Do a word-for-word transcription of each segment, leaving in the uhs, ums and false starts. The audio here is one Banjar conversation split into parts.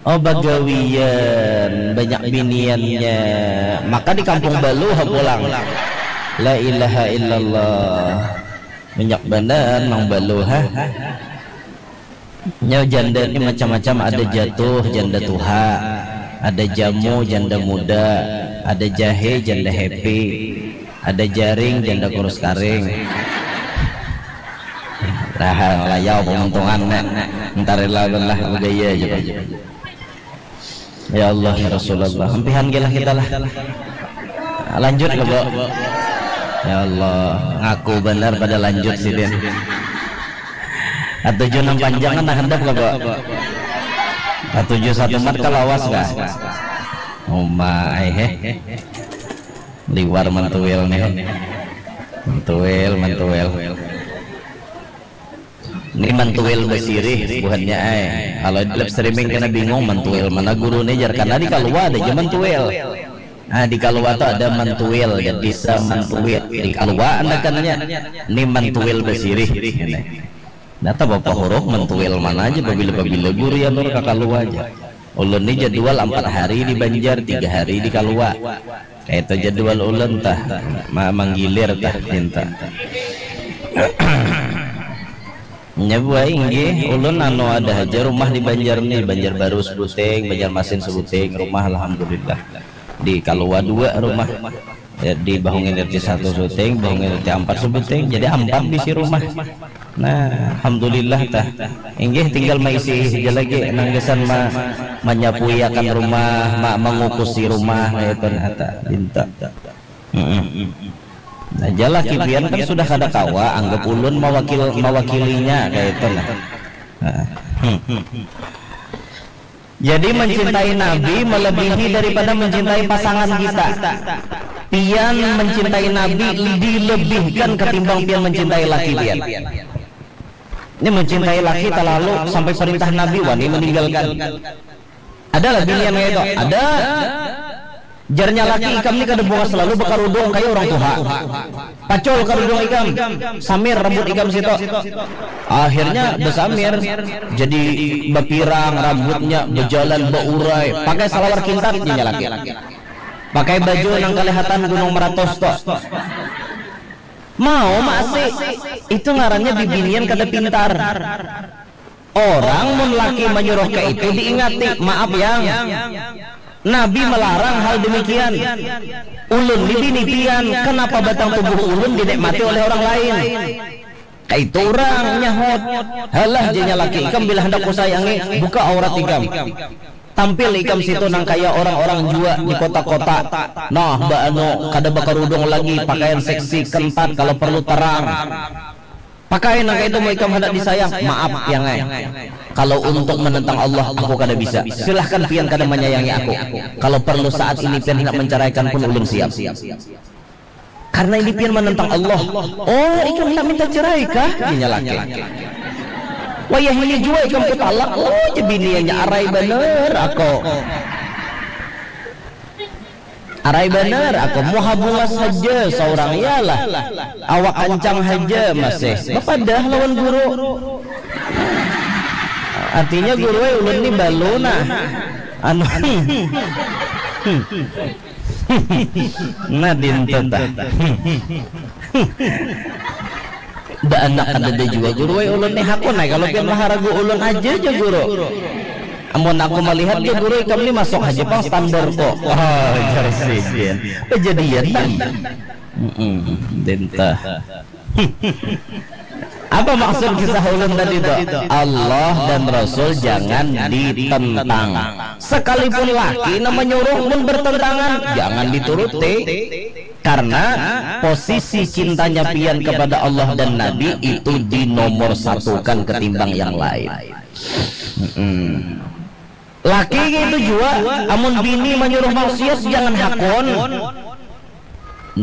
Oh, bagawian, banyak biniannya. Maka di kampung baluh pulang. La ilaha illallah. Banyak banar nang baluh, ha. Nya janda ni macam-macam, ada jatuh, janda tuha, ada jamu, janda muda, ada jahe, janda happy, ada jaring, janda kurus karing. Raha layau pamuntungan nek. Entar lah lah begaya aja. Ya Allah, ya Rasulullah, ampihan gila kita lah. Lanjut ke, Bu. Ya Allah, ngaku benar pada lanjut sidin. Katuju nang panjang kan handap ke, Bu. Katuju satu mat kalawas kah? Uma ai he. Liwar mantuil nih. Mantuil, mantuil. Ni mantuil basirih buhannya ai. Kalau di live streaming kena bingung mantuil mana guru ni jar, karena di kalua ada aja mantuil. Nah, di kalua tu ada mantuil, jadi semantuil. Di kalua andakannya ni mantuil basirih. Ini. Nah, tak apa huruf mantuil mana aja, pabila-pabila guru ya nur ka kalua aja. Ulun ni jadwal empat hari di Banjar, tiga hari di kalua. Kayak itu jadwal ulun tah, ma- manggilir tah cinta. Nya buah inggih, ulun anu ada haja rumah di Banjar ni, Banjar Baru sebuting, Banjarmasin sebuting, rumah alhamdulillah. Di Kalua dua rumah. Ya, di Bahungin R T satu sebuting, Bahungin R T empat sebuting, jadi empat bisi rumah. Nah, alhamdulillah tah. Inggih tinggal maisi aja lagi nang gasan ma- manyapuiakan rumah, ma- mangukusi rumah kaya itu nah tah, dinta. Mm-mm. Nah, jalaki pian kan sudah kada kawa, anggap ulun mawakil mawakilinya kaya itu nah. Nah. Hmm. Jadi mencintai Nabi melebihi daripada mencintai pasangan kita. Pian mencintai Nabi dilebihkan ketimbang pian mencintai laki pian. Ini mencintai laki terlalu sampai perintah Nabi wani meninggalkan. Ada lah binian kayak itu. Ada. Jarnya laki ikam ni kada bunga selalu bekerudung kayak orang tuha. Pacul kerudung ikam, samir rambut ikam situ. Akhirnya besamir, jadi bapirang rambutnya, bejalan beurai, pakai salawar kintat nya laki. Pakai baju nang kelihatan Gunung Meratus tu. Mau masih, itu ngarannya bibinian kada pintar. Orang mun laki menyuruh ke itu diingati, maaf yang. Nabi melarang hal demikian. Ulun ni bini pian, kenapa batang tubuh ulun dinikmati oleh orang lain? Kaitu urang nyahut, halah janya laki ikam bila handak kusayangi, buka aurat ikam. Tampil ikam situ nang kaya orang-orang jua di kota-kota. Nah, baanu kada bakarudung lagi, pakaian seksi, kentat, kalau perlu terang. Pakai nang kaitu mau ikam handak disayang, maaf yang ai. Kalau untuk menentang Allah, aku kada bisa. Silahkan pian kada menyayangi aku. Kalau perlu saat ini pian hendak menceraikan pun ulun siap. Karena ini pian menentang Allah. Oh, ikam hendak minta cerai kah? Inya laki. Wayah ini jua ikam kutalak. Oh, jebiniannya arai bener aku. Arai bener aku muha bungas haja seorang, iyalah. Awak kancang haja masih bepadah lawan guru. Artinya guru ai ulun ni balu nah. Anu. Nah dintu tah. Baanak kadada jua guru ai ulun nih hakun ai kalau pian maharagu ulun aja ja guru. Amun aku malihat ja guru ikam nih masuk haja pang standar kok. Oh, jar sidin. Kejadian nang. Mm-mm, dintah. Apa maksud kisah ulun tadi tu? Allah dan Rasul jangan ditentang. Sekalipun laki nang manyuruh mun bertentangan, jangan dituruti. Karena posisi cintanya pian kepada Allah dan Nabi itu dinomor satukan ketimbang yang lain. Mm-mm. Laki gitu jua, amun bini manyuruh maksiat jangan hakun.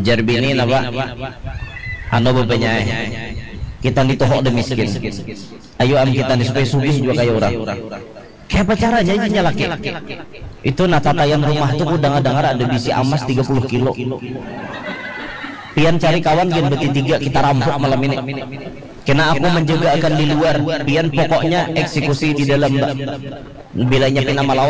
Jar bini napa? Anu bebenya ai. Kita ni tuh ada miskin. Ayo am kita ni supaya sugih juga kayak orang. Kayak apa caranya aja laki? Itu nah tataian rumah tuh ku dengar-dengar ada bisi amas tiga puluh kilo. Pian cari kawan gen beti tiga kita rampok malam ini. Kena aku menjaga akan di luar, pian pokoknya eksekusi di dalam, Mbak. Bilanya pina malawan,